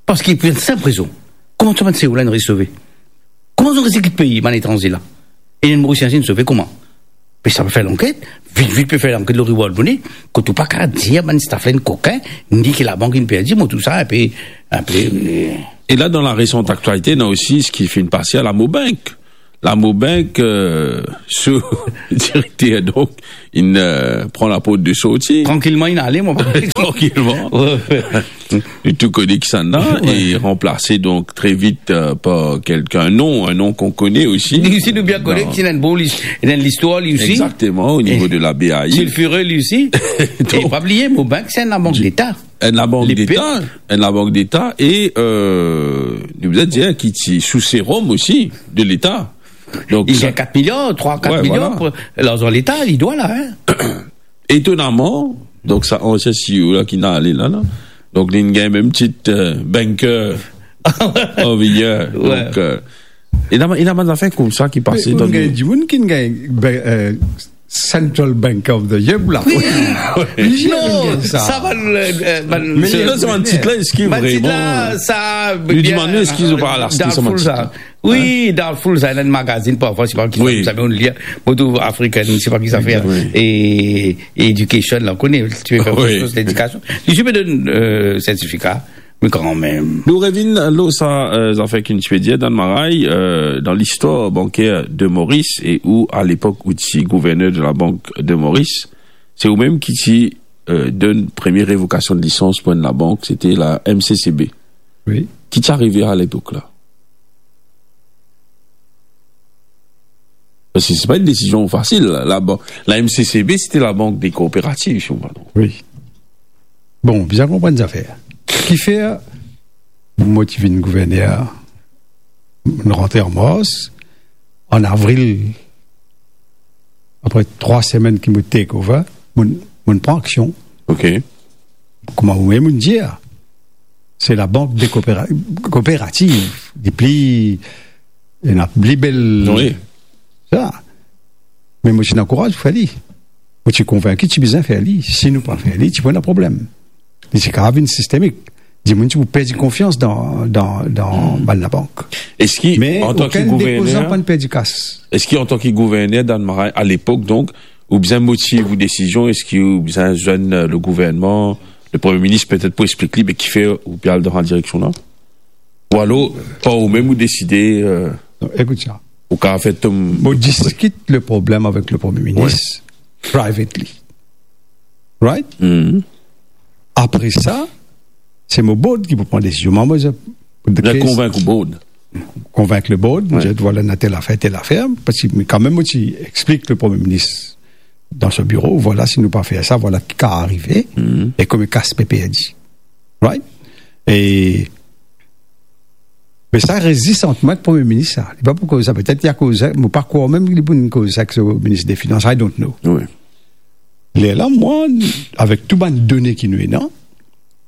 Parski pou enn sinp rezon, kouma sa bann CEO la inn res sove? Kouma zot inn res kit pei, bann etranze la? E enn Morisien inn sove kouma? Pe sa pe fer lanket, vit, vit pe fer lanket lor reward money, kot ou pa kav dir bann staff la inn kokin, ni ki labank inn perdi, mo trouv sa inpe, inpe, eh. E la, dan la resant aktialite, ena osi seki finn pase a Lamobank. Lamobank, eh, so direkter, donk, inn, eh, pran laport de sorti. Trankilman, inn ale, mo pa... Trankilman. Wi, wi. Nou tou kone kisannla, wi, e ranplase donk tre vit, eh, par kelkenn, non, enn non ki nou kone osi. Li osi nou bien kone, ki ena enn bon lis-, ena enn listwar li osi. Exactement, au niveau de la B A I. Sulfureux li osi. Donk, e pa bliye, Mobank, se enn labank deta. Enn labank deta, enn labank deta, e, eh, nou bizin dir ki ti sou serom osi de Leta. Donk, li gagn kat miliar, trwa, kat miliar, wi, vwala, pou larzan Leta, li dwa la, hein. Etonaman, donk sa ansien CEO la ki inn ale la, la. Donk, li gagn mem tit, eh, Banker of the Year. Wi. Donk, eh, ena, ena bann zafer koumsa ki pase dan... Gagn dimoun ki gagn, ben, eh, Central Bank of the Year, la. Wi. Non, sa, sa bann, eh, bann... Me sa, sa bann tit la, eski bann tit la, vreman, sa, nou dimann nou, eski zot pa al aste sa bann tit la? Wi, dan foul sa, ena enn magazin parfwa, se pa ki sa, wi, sa, me nou lir, mo trouv African, se pa ki sa fer. Wi. E, Education la, ou kone, ti pe fer, wi, kiksoz ledikasion. Li ti pe donn, eh, sertifika, me kanmem. Nou revinn lor sa, eh, zafer ki nou ti pe dir, Dan Maray, eh, dan listwar banker de Moris, e ou, alepok, ou ti gouverner de la Banque de Maurice, se ou mem ki ti, eh, donn premie revokasion de lisans pou enn labank, se te la M C C B. Wi. Ki ti arive alepok la? Parski se pa enn desizion fasil. La, la, bon, la M C C B, se te la Banque des Coopératives, si mo pa tronpe. Wi. Bon, bizin konprann zafer. Kifer mo ti vinn gouverner, mo rantre an mars, an avril, apre trwa semenn ki mo take over, mo, mo pran aksion. Ok. Kouma ou mem ou dir, se labank de koopera-, kooperativ, li pli, ena pli bel. Wi. Sa. Me mo ti ankouraz pou fer li. Mo ti konvinki ti bizin fer li. Si nou pa fer li, ti pou ena problem. Li ti kapav vinn sistemik. Dimoun ti pou perdi konfians dan, dan, dan bann labank. Eski, me antan ki okenn depozan gouverner, pa'nn perdi kas. Eski antan ki gouverner Dannmaray, alepok, donk, ou bizin motiv ou desizion, eski ou bizin zwenn, euh, le gouvernman, le Premie Minis, petet pou explik li, be kifer ou pe al dan sa direksion la? Ou alor, par ou mem, ou deside, euh, Non, ekout sa. Ou kapav fer to... Mo diskit le problem avek le Premie Minis privately. Right? Mhm. Apre sa, se mo board ki pou pran desizion. Mwa, mo, mo konvink ou board. Konvink le board, mo dir, vwala, ena tel afer, tel afer, parski kanmem, mo ti explik le Premie Minis dan so biro, vwala, si nou pa fer sa, vwala ki kapav arive, e kouma kas pe perdi. Right? E, me sa res zis ant mwa ek Premie Minis sa. Li pa pou koz sa, petet li a koz sa, mo pa krwar mem li pou koz sa ek so minis de finans, I don't know. Wi. Lerla, mwa, avek tou bann done ki nou ena,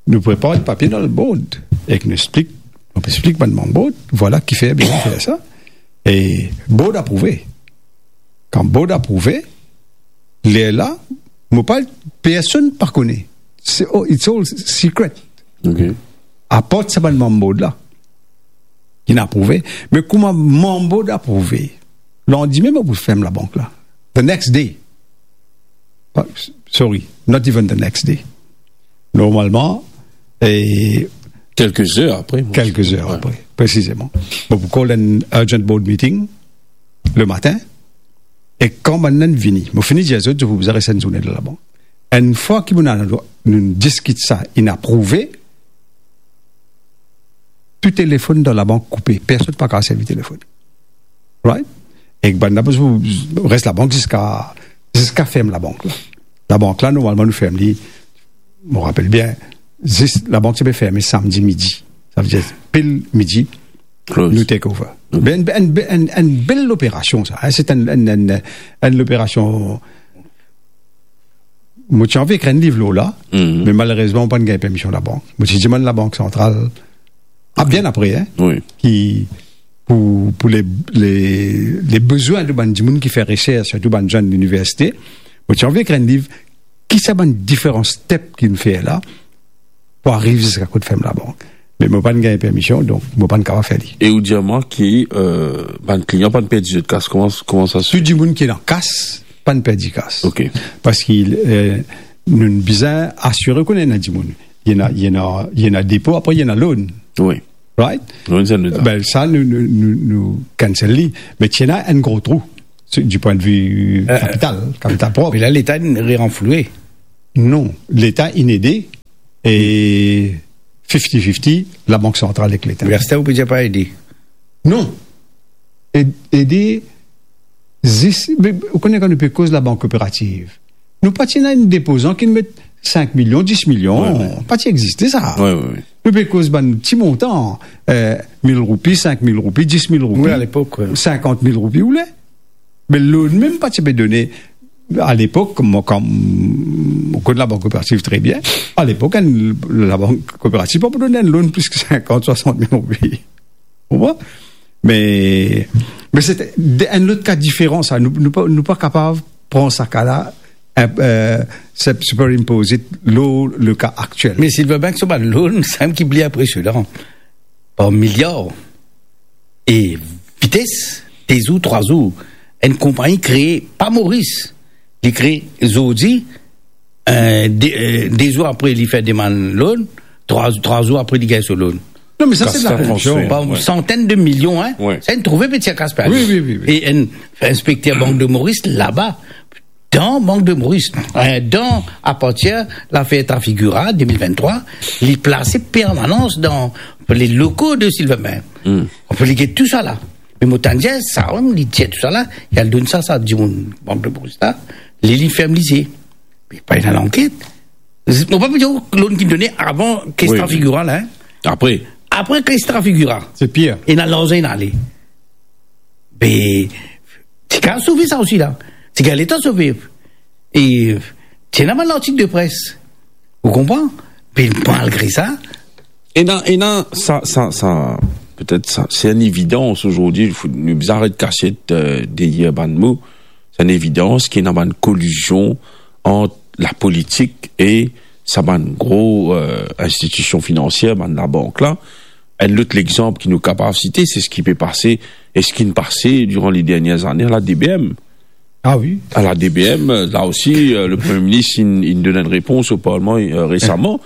nou prepar enn papie dan le board, ek nou explik, nou explik bann manm board, vwala kifer bizin fer sa. E board aprouve. Kan board aprouve, lerla, mo pa, personn pa kone. Se, oh, it's all secret. Ok. Apart sa bann manm board la, ki inn aprouve. Me kouma manm board aprouve, landime, mo pou ferm labank la. The next day. Pa, sorry, not even the next day. Normalman, e kelke zer apre, mo... Kelke zer apre, presizeman. Mo pou call enn urgent board meeting le matin, e kan bann la vini, mo fini dir zot, zot pou bizin res enn zourne dan labank. Enn fwa ki nou, nou diskit sa, inn aprouve, tou telefonn dan labank koupe, personn pa kapav servi telefonn. Right? Ek bann la pou res labank ziska, ziska ferm labank la. Labank la, normalman, nou ferm li, mo rapel bien, zis labank ti pe ferme samdi midi. Sa vedir, pil midi, nou take over. Be enn, enn, enn, enn bel loperasion sa, en. Se enn, enn, enn, enn loperasion Mo ti anvi ekrir enn liv lor la, me malerezman, mo pa'nn gagn permision labank. Mo ti dimann Labank Santral, a, bien apre, en, ki, pou, pou le, le, le bezwin de bann dimoun ki fer resers, sirtou bann zenn liniversite, mo ti anvi ekrir enn liv, ki sa bann diferan step ki nou fer la, pou ariv ziska kot ferm labank. Me mo pa'nn gagn permision, donk mo pa'nn kapav fer li. E ou dir mwa ki, euh, bann klian pa'nn perdi zot kas, kouma, kouma sa se fer? Tou dimoun ki ena kas, pa'nn perdi kas. Ok. Parski, euh, nou bizin asire kouma ena dimoun. Ena, ena, ena depo, apre ena loan. Wi. Right? Loan, sa nou... Be sa, nou, nou, nou, nou cancel li. Me ti ena enn gro trou, se, di pwin de vi, euh, kapital, kapital prop. Me la, Leta inn reranfloue. Non, Leta inn ede, e fifty fifty, Labank Santral ek Leta. Me aster ou pe dir pa ede? Non. Ed-, ede zis, me, ou kone kan nou pe koz labank kooperativ, nou pa ti ena enn depozan ki met sink milion, dis milion, wi, wi, pa ti existe sa. Wi, wi, wi. Nou pe koz bann ti montan, euh, mil roupi, sink mil roupi, dis mil roupi, wi, alepok, wi, sinkant mil roupi, ou le. Me loan mem pa ti pe done. Alepok, mwa, kan mo konn Labank Kooperativ tre bien, alepok, enn, Labank Kooperativ pa pou donn enn loan plis ki sinkant, swasant mil roupi. Ou konpran? Me, me se de, enn lot ka diferan sa. Nou, nou pa, nou pa kapav pran sa ka la, euh, se, superimpose lor le ka aktiel. Me Silverbank, so bann loan, sa mem ki pli inpresionan. Par miliar. E vites, de zour, trwa zour, enn konpagni kree, pa Moris, li kree zordi, euh, de, euh, de zour apre li fer demann loan, trwa, trwa zour apre li gagn so loan. Non, me sa, se de la koripsion. Transfer, wi. Par santenn de milion, en. Wi. Sa, enn trouve pe tir kas pe ale. Wi, wi, wi, wi. E enn inspekter Bank de Moris laba, dan Bank de Moris, euh, dan, apartir lafer Trafigura, de mil venntrwa, li plase permanans dan le loko de Silverbank. Hmm. Li get tou sa la. Me mo tann dir, sa mem, li tir tou sa la, li al donn sa, sa dimoun Bank de Moris la, li, li ferm lizie. Me pa ena lanket. Mo pa pe dir ou loan ki done avan kes Trafigura la, en. Apre. Apre, kan li se transfigire, se pir. Ena larzan inn ale. Be, ti kav sove sa osi la. Ti gagn letan sove. E ti ena bann lartik de pres. Ou konpran? Be malgre sa, ena, ena, sa, sa, sa, petet sa, se enn evidans azordi, fo nou bizin aret kasiet, eh, deryer bann mo. Se enn evidans ki ena bann kolizion ant lapolitik e sa bann gro, eh, institision finansier, bann labank la. Enn lot lexanp ki nou kapav site, se seki pe pase, e seki inn pase diran le dernie zane a la D B M. Ah wi. A la D B M, la osi, eh, le Premie Minis, inn, inn donn enn repons o Parlman, eh, resaman,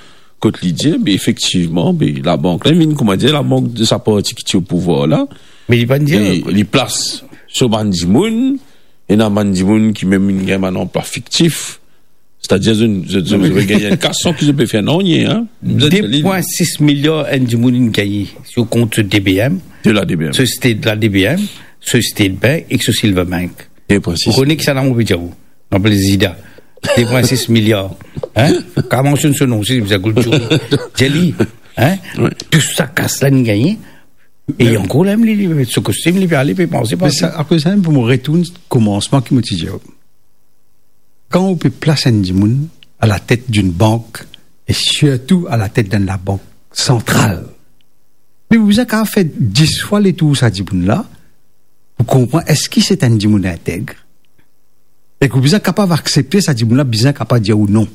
kot li dir, be efektivman, be labank la, inn vinn, koumadir, labank de sa parti ki ti o pouvwar la. Me li pa'nn dir, be li plas so bann dimoun, ena bann dimoun ki mem inn gagn bann anplwa fiktif. Setadir, zot, zot, zot, zot pe gagn enn kas san ki zot pe fer nanye, hein. De pwin sis miliar enn dimoun inn gagne sir kont so D B M. De la D B M. So State, la D B M, so State Bank ek so Silver Bank. De pwin sis. Ou kone kisannla mo pe dir ou? Mo apel Zida. De pwin sis miliar. Hein? Kav mansionn so nom, si, bizin koul touri. Dir li, hein? Wi. Tou sa kas la inn gagne. E ankor la mem, li, li met so kostim, li pe ale, pe panse, me sa, akoz sa mem, pou mo retourn komansman ki mo ti dir. Kan ou pe plas enn dimoun a la tet d'enn bank, e sirtou a la tet d'enn labank santral, me ou bizin kapav fer dis fwa letour sa dimoun la, pou konpran eski se enn dimoun integ. E ki ou bizin kapav aksepte sa dimoun la, bizin kapav dir ou non.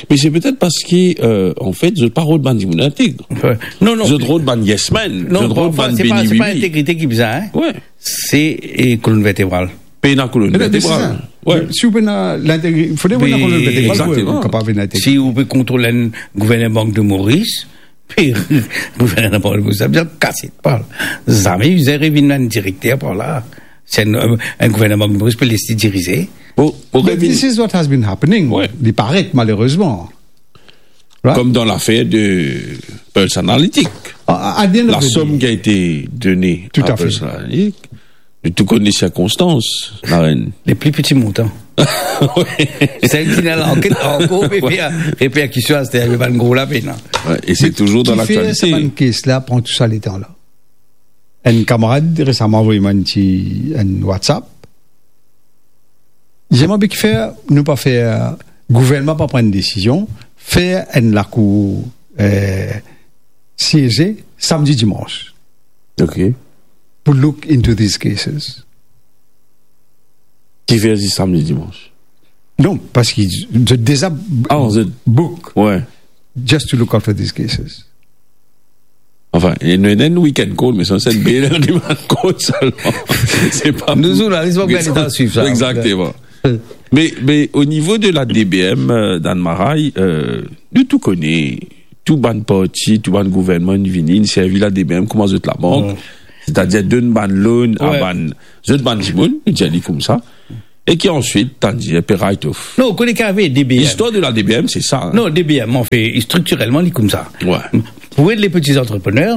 Me se petet parski, eh, anfet, zot pa rod bann dimoun integ. Wi. Non, non. Zot rod bann yes man. Non, zot rod bann beni bibi. Se pa, se pa integrite ki bizin, hein. Wi. Se, eh, kolonn vertebral. Pena kolonn vertebral. Wi. Si ou pena lintegri-, fode ou ena kolonn vertebral pou ou kapav vinn integ. Si ou pe kontrol enn gouverneur Bank de Maurice, pe gouverneur Bank de Maurice, sa bizin kas li par la. Zame bizin revinn enn direkter par la. Se enn, enn gouverneur Bank de Maurice pe les li dirize. Bon, bon, this is what has been happening. Wi. Li paret, malerezman. Right? Comme dans l'affaire de Pulse Analytics. La somme qui a été donnée à Pulse Analytics, nou tou konn sirkonstans, Larenn. Le pli piti montan. Wi. Sel ki ena lanket ankor, pe fer, pe fer kiswa, se bann gro lapenn, hein. Wi, e se touzour dan laktialite. Kifer sa bann kes la pran tou sa letan la? Enn kamarad resaman avoy mwa enn ti, enn WhatsApp. Li dir mwa, be kifer nou pa fer, gouvernman pa pran enn desizion, fer enn lakour, eh, sieze samdi, dimans. Ok. Pou look into these cases. Kifer zis samdi, dimans? Non, parski zot deza book. Wi. Just to look after these cases. Anfin, ena enn weekend call, me sa se enn bel weekend call selman. Se pa... Nou zournalis, nou pa pou gagn letan swiv sa. Exactement. Me, me o nivo de la D B M, eh, dan Marais, eh, nou tou kone, tou bann parti, tou bann gouvernman inn vini, inn servi la D B M kouma zot labank. Wi. Setadir donn bann loan a bann, zot bann dimoun, nou dir li koumsa. E ki answit, tann dir, pe write off. Non, ou kone ki arive D B M. Listwar de la D B M, se sa, hein. Non, D B M, anfet, striktirelman, li koumsa. Wi. Pou ed le peti antreprener,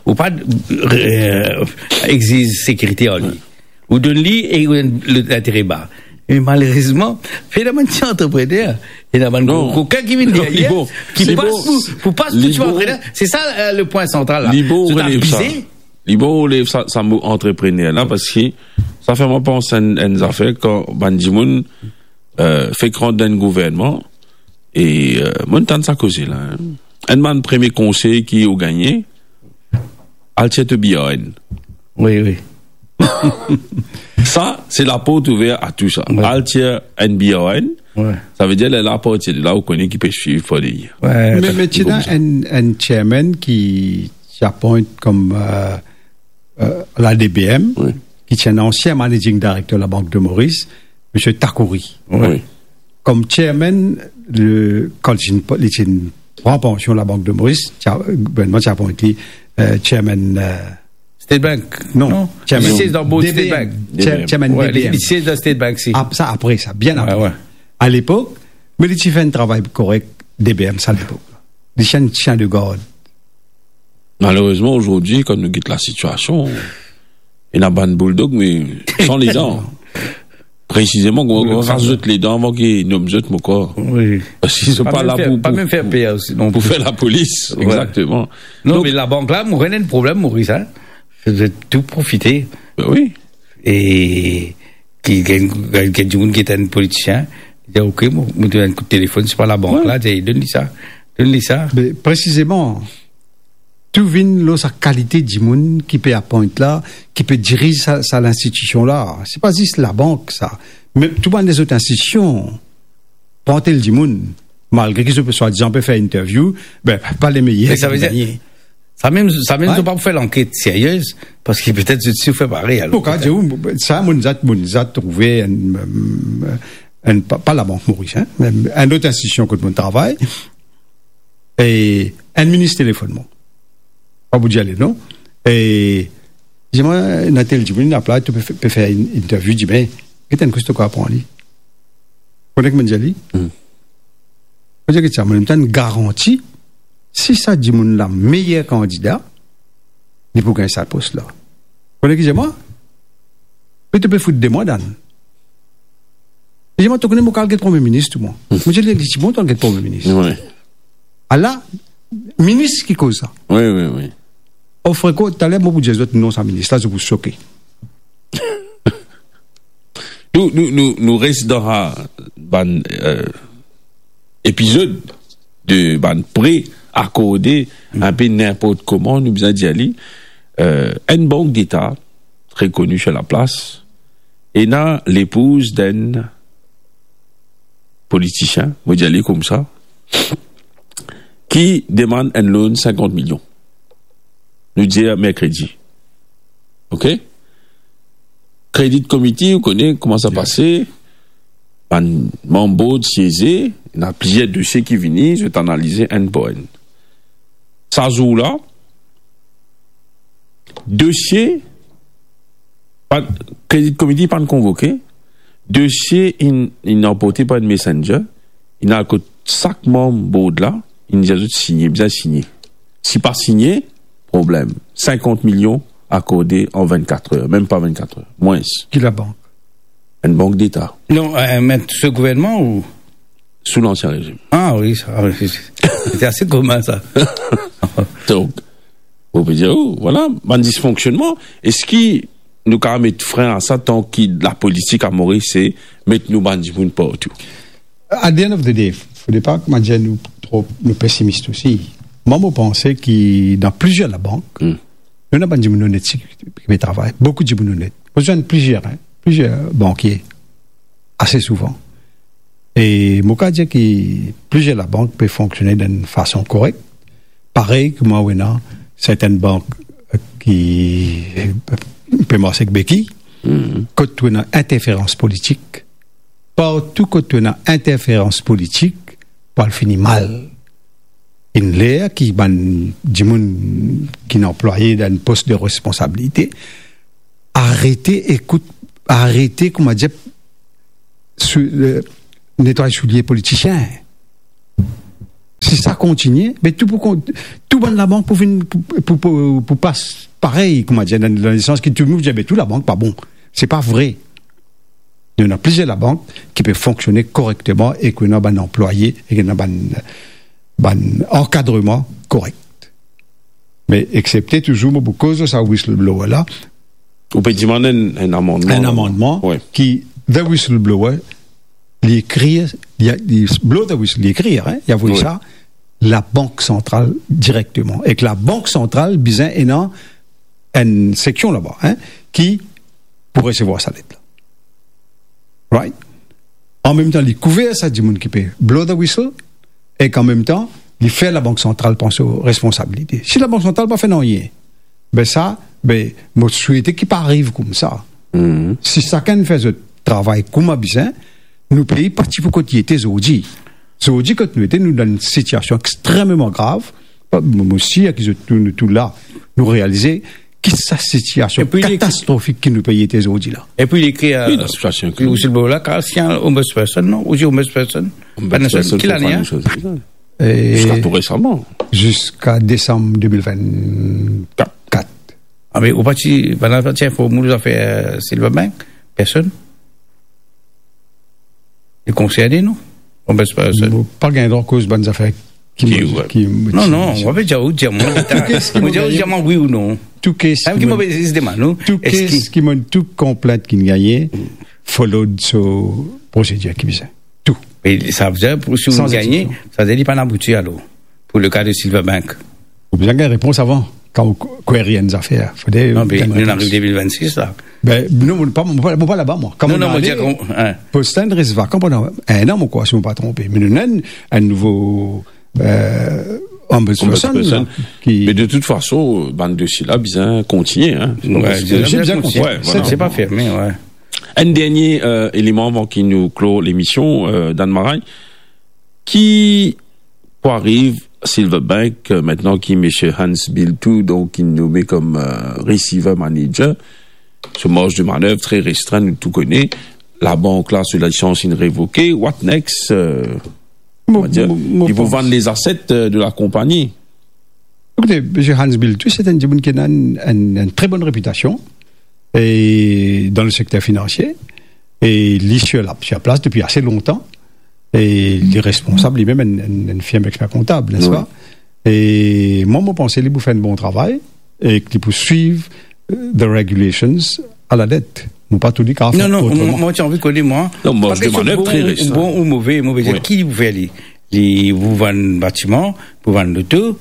ou pa, eh, exiz sekirite ar li. Ou donn li e ou donn lintere ba. Me malerezman, fenomem ti antreprener, ena bann gro kokin ki vinn deryer, ki pas pou, pou pas pou ti antreprener. Se sa, eh, le pwin santral la. Li bon ou relev sa. Li bon ou relev sa, sa mo antreprener la, parski sa fer mwa pans enn, enn zafer kan bann dimoun, eh, fek rant dan enn gouvernman, e, eh, mo tann sa koze la, hein. Enn bann premie konsey ki ou gagne, al tir to B R N. Wi, wi. Sa, se laport ouver a tou sa. Wi. Al tir enn B R N, wi, sa ve dir, lerla, apartir de la, ou kone ki pe swiv par deryer. Wi. Me, me ti ena enn, enn chairman ki ti appoint kom, eh, eh, la D B M, wi, ki ti enn ansien managing director Labank de Maurice, Misie Takouri. Wi. Wi. Kom chairman, le, kan li ti, li ti pran pansion Labank de Maurice, ti a, gouvernman ti apwint li, eh, chairman, eh, State Bank. Non, non. Chairman. Li siez dan board State Bank. D B M. Chair-, chairman D B M. Wi, li siez dan State Bank, si. Ap-, sa apre sa, bien apre. Wi, wi. A lepok, me li ti fer enn travay korek, D B M sa lepok. Li ti enn sien de gard. Malerezman, azordi, kan nou get lasitiasion, ena bann bouldog, me san ledan. Presizeman, mo, mo ras zot ledan avan ki nom zot, mo krwar. Wi. Paski zot pa la pou, pou, pou fer lapolis. Wi. Egzakteman. Non, me labank la, mo konn enn problem, Moris, hein. Zot tou profite. Ben wi. E ki, ki, ki, ki dimoun ki ete enn politisien, dir, "Ok, mo, mo donn enn kout telefonn, se pa labank la, dir, donn li sa, donn li sa." Me presizeman, tou vinn lor sa kalite dimoun ki pe appoint la, ki pe diriz sa, sa linstitision la. Se pa zis labank, sa. Me tou bann lezot institision, pran tel dimoun, malgre ki zot pe swadizan pe fer interview, be, pa lemeyer ki pe gagne. Sa mem, sa mem, zot pa pou fer lanket serye, paski petet zot si fer parey, alor. Pou kapav dir, sa, mo za, mo za trouve enn, enn, pa, pa Labank Moris, hein, me enn lot institision kot mo travay, e enn minis telefonn mwa. Pa pou dir lenon. E dir mwa, ena tel dimoun, ena pla, to pe, pe fer enn interview, dir, "Me, get enn koz to kapav pran li." Kone ki mo dir li? Hmm. Mo dir, "Get sa, mo donn twa enn garanti, si sa dimoun la meyer kandida, li pou gagn sa pos la." Kone ki dir mwa? "Me to pe fout de mwa, Dan." Li dir mwa, "To kone mo kapav get Premie Minis tou, mwa." Mo dir li, "Li ti bon, to al get Premie Minis." Wi. Ala, minis ki koz sa. Wi, wi, wi. O, freko, taler mo pou dir zot non sa minis la, zot pou soke. Nou, nou, nou, nou res dan sa bann, eh, epizod de bann pre akorde, hmm, inpe ninport kouma, nou bizin dir li, eh, enn bank deta, tre koni sir laplas, ena lepouz d'enn politisien, mo dir li koumsa, ki demann enn loan sinkant milion. Nou dir merkredi. Ok? Credit Committee, ou kone kouma sa pase, bann manm board sieze, ena plizier dosie ki vini, zot analize enn par enn. Sa zour la, dosie, pa, Credit Committee pa'nn konvoke, dosie inn, inn anporte par enn messenger, inn al kot sak manm board la, inn dir zot signe, bizin signe. Si pa signe, problem. Sinkant milion akorde an vinn-kat er, mem pa vinn-kat er, mwins. Ki labank? Enn bank deta. Non, eh, me sou gouvernman ou? Sou lansien rezim. Ah wi, sa, ah wi, se, se, se ase komin sa. Donk, ou pe dir, oh, vwala, bann disfonksionnman, eski nou kapav met frin a sa, tanki lapolitik a Moris se met nou bann dimoun partou? At the end of the day, fode pa, kouma dir, nou tro, nou pesimis osi. Mwa, mo panse ki dan plizier labank, hmm, nou ena bann dimoun onet ki, ki pe travay, boukou dimoun onet. Mo zwenn plizier, hein, plizier bankie, ase souvan. E mo kapav dir ki plizier labank pe fonksione dan enn fason korek. Parey kouma ou ena sertenn bank, eh, ki, eh, pe marse ek beki, mhm, kot ou ena interferans politik. Partou kot ou ena interferans politik, pou al fini mal. Enn ler ki bann dimoun ki ena anplwaye dan enn pos de responsabilite, arete ekout, arete, kouma dir, sou, eh, netway soulie politisien. Si sa kontinie, be tou pou kon-, tou bann labank pou vinn, pou, pou, pou, pou pas parey, kouma dir, dan, dan lesans ki tou dimoun dir, be tou labank pa bon. Se pa vre. Nou ena plizier labank ki pe fonksione korekteman e ki ena bann anplwaye e ki ena bann, bann ankadreman korek. Me eksepte touzour, mo pou koz lor sa whistleblower la. Ou pe demann enn, enn amannman. Enn amannman, wi, ki, the whistleblower, li ekrir, li, li blow the whistle, li ekrir, hein, li avoy, wi, sa Labank Santral direkteman. Ek Labank Santral bizin ena enn seksion laba, hein, ki pou resevwar sa let la. Right? An mem tan, li kouver sa dimoun ki pe blow the whistle, ek an mem tan, li fer Labank Santral pran so responsabilite. Si Labank Santral pa fer nanye, be sa, be, mo swete ki pa ariv koumsa. Mhm. Si sakenn fer zot travay kouma bizin, nou pei pa ti pou kot li ete zordi. Zordi, kot nou ete, nou dan enn sitiasion extrememan grav. Mo, mo sir ki zot tou, nou tou la, nou realize ki sa sitiasion, epi li, katastrofik ki nou pei ete zordi la. Epi li ekrir, wi, dan sitiasion ki, whistleblower la, kapav sign ombudsperson, non? Ou dir ombudsperson? Ombudsperson, ki lane, hein? E, ziska tou resaman. Ziska desam de mil vinn-kat. Ah, me ou pa ti, bann la pa ti inform ou zafer, eh, Silverbank? Personn? konserne nou. Mo pa gagn drwa koz bann zafer ki, ki, mo, ki, non, non, mo pe dir ou, dir mwa, tou kes ki mo gagn, dir mwa wi ou non. Tou kes ki mo, tou kes ki mo, tou konplint ki gagne, followed so prosedir ki bizin. Tou. E sa vedir, pou, si ou gagne, sa vedir li pa abouti alor, pou le ka de Silverbank. Ou bizin gagn repons avan, kan ou query enn zafer. Fode, non, me nou ariv de mil vennsis la. Ben, non, mo pa, mo pa, mo pa laba, mwa. Non, non, mo dir, post la inn res vakan pandan enn an, mo krwar, si mo pa tronpe. Me nou ena enn, enn nouvo, eh, ombudsperson, ombudsperson la, ki... Me de tout fason, bann dosie la bizin kontigne, hein. Bizin kontigne. Se pa ferme, wi. Enn dernie, eh, eleman avan ki nou klor lemision, eh, Dan Maray. Ki pou ariv Silverbank, eh, aster ki misie Hans Bilthout, donk, inn nome kom, eh, receiver manager, so marz de manev tre restrin, nou tou kone, labank la, so lisans inn revoke, what next, eh, mo, mo, mo, li pou vann les assets, eh, de la konpagni. Ekoute, misie Hans Bilthout, se enn dimoun ki ena enn, enn, enn tre bonn repitasion, e dan le sekter finansie, e li sir la, sir plas depi ase lontan, e li responsab limem enn, enn, enn firm exper kontab, nespa? Wi. E mwa, mo panse li pou fer enn bon travay, e ki li pou swiv, eh, the regulations a la let. Mo pa trouv li kapav fer otreman. Non, non, mo, mo ti anvi kone, mwa. Non, marz de manev tre restrin. Bon ou move, mo pe dir, ki pou fer li? Li pou vann batiman, pou vann loto.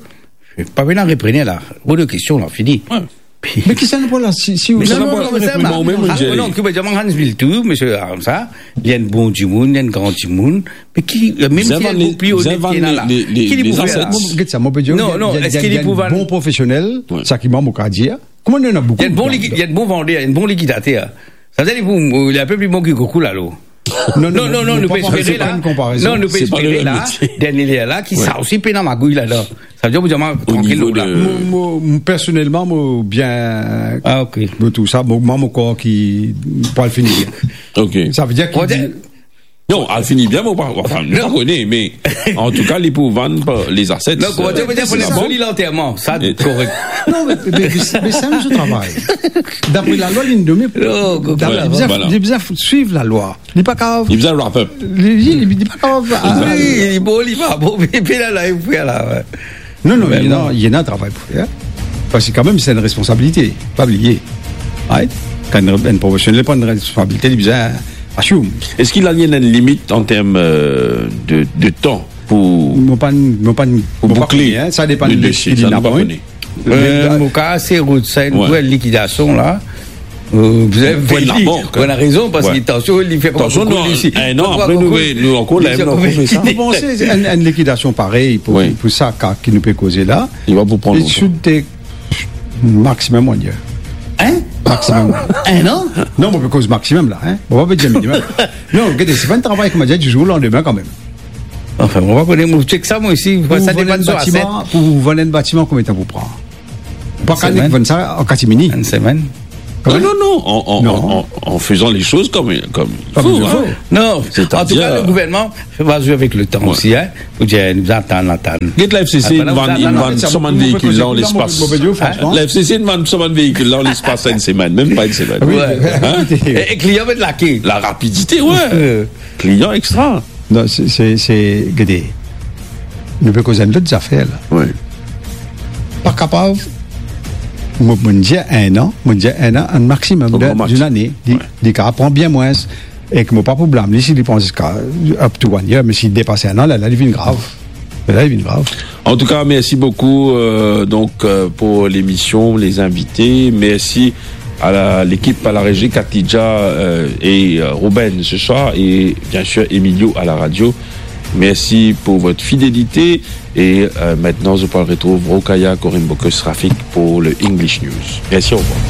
Pa bena reprener la. Hors de question la, fini. Wi. Me ki sa nou pou la, si, si... Non, non, non, non, ki pe dir, Hans Bilthout, misie, ah, sa, li enn bon dimoun, li enn gran dimoun. Me ki, mem si li enn pli onet ki ena la, ki li pou fer la? Mo, get sa, mo pe dir, non, non, eski li pou vann bon profesionel, sa ki mwa mo kapav dir. Kouma nou ena boukou... Li enn bon liki-, li enn bon vander, enn bon likidater. Sa vedir li pou, li enn pe pli bon ki Kokou la, alor. Non, non, non, non, nou pe espere la. Non, nou pe espere la, dernie ler la, ki sa osi pena magouy ladan. Sa vedir, mo dir, trankil la. Mo, mo, personelman, mo bien, ah, ok, mo trouv sa, mo, mwa, mo krwar ki pou al fini bien. Ok. Sa vedir ki... Non, al fini bien, mo pa, anfin, nou pa kone, me antouka, li pou vann par les assets. Non, kouma dir, soli lanterman, sa, korek. Non, me, me, me, me sa, nou travay. Dapre lalwa, li nome. Non, li bizin, li bizin swiv lalwa. Li pa kapav... Li bizin wrap up. Li, li, li pa kapav, ah, wi, li bon, li pa bon, me, me la, la, li pou fer la, wi. Non, non, li ena, li ena travay pou fer. Parski kanmem, se enn responsabilite. Pa bliye. Right? Kan enn, enn profesionel pran enn responsabilite, li bizin assume. Eski li ena enn limit an term, eh, de, de tan pou... Mo pa, mo pa, pou boukle, hein, sa depann le dosie, sa nou pa kone. Eh, mo krwar se rod sa, enn bel likidasion la. Eh, vous avez, vous avez raison, parski tansion, li fer pa boukou isi. Enn an apre, nou, nou ankor la, nou ankor fer sa. Mo panse enn, enn likidasion parey pou, pou sa ka ki nou pe koze la, li va pou pran lontan. Li sou de maximum one year. Hein? Maximum. Enn an? Non, mo pe koz maximum la, hein. Mo pa pe dir minimum. Non, gete, se pa enn travay, kouma dir, di zour o landime kanmem. Anfin, mo pa kone, mo chek sa, mwa osi. Pou sa depann so asset. Pou vann enn batiman, konbien tan pou pran? Pa kapav vann sa an katimini. Enn semenn. Non, non, non, en, en, en, en, en faisant les choses comme, comme il faut, hein. Non, antouka, le gouvernman va zwe avek le tan osi, hein, pou dir, nou atann, atann. Get la, F C C, inn vann, inn vann so bann veikil la an lespas. La F C C inn vann so bann veikil la an lespas enn semenn, mem pa enn semenn. Wi. Hein? E, e klian met lake. La rapidite, wi. Klian extra. Non, se, se, se, gete, nou pe koz enn lot zafer la. Wi. Pa kapav, mo, mo dir enn an, mo dir enn an, enn maximum de, enn max, d'une année. Li, li kapav pran bien mwins, e ki mo pa pou blam li si li pran ziska up to one year, me si li depas enn an, la, la, li vinn grav. La, li vinn grav. En tout cas, merci beaucoup, euh, donc, euh, pour l'émission, les invités. Merci à la, l'équipe à la régie, Katidja, euh, et, euh, Ruben ce soir, et bien sûr Emilio à la radio. Merci pour votre fidélité. Et, euh, maintenant, je peux retrouver Rokaya Korimbokus Rafik pour le English News. Merci, au revoir.